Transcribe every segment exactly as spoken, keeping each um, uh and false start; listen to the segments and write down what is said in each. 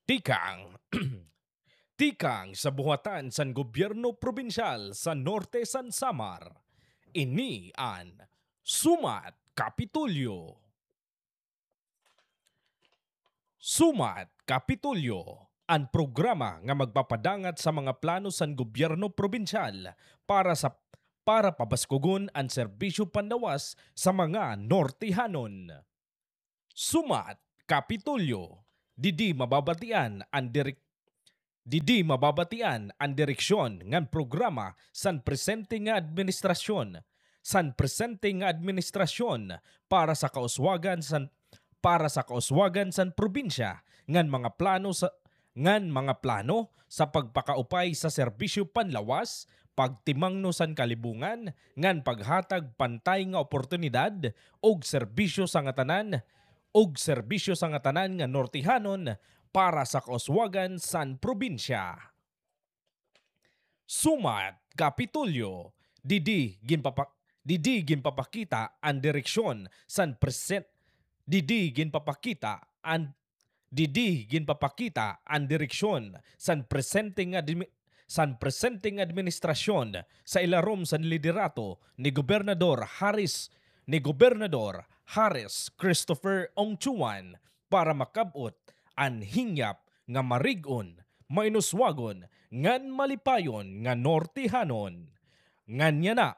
Tikang Tikang sa buhatan san gobyerno probinsyal sa Norte san Samar. Ini an Sumat Kapitulyo. Sumat Kapitulyo, ang programa nga magpapadangat sa mga plano san gobyerno probinsyal para sa para pabaskugon ang serbisyo panlawas sa mga Nortehanon. Sumat Kapitulyo, didi mababatian ang direk Didi mababatian ang direksyon ngan programa san presente nga administrasyon san presente nga administrasyon para sa kauswagan san para sa kauswagan san probinsya ngan mga plano sa ngan mga plano sa pagpakaupay sa serbisyo panlawas, pagtimangno san kalibungan ngan paghatag pantay nga oportunidad og serbisyo sa nga tanan og serbisyo sa nga tanan nga Nortehanon para sa kauswagan san probinsya. Sumat Kapitulyo, didi ginpapa didi ginpapakita ang direksyon san present didi ginpapakita ang didi ginpapakita ang direksyon san presente nga admi- san presente nga administrasyon sa ilarom san liderato ni Gobernador Harris ni Gobernador Harris Christopher Ongchuan para makabot ang hingyap nga marig-on, mainuswagon, ngan malipayon nga Nortehanon. Ngan niya na,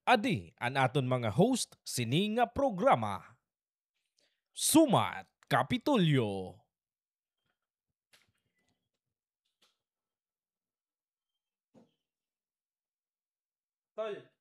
adi ang aton mga host sini nga programa. Sumat Kapitulyo. Tol.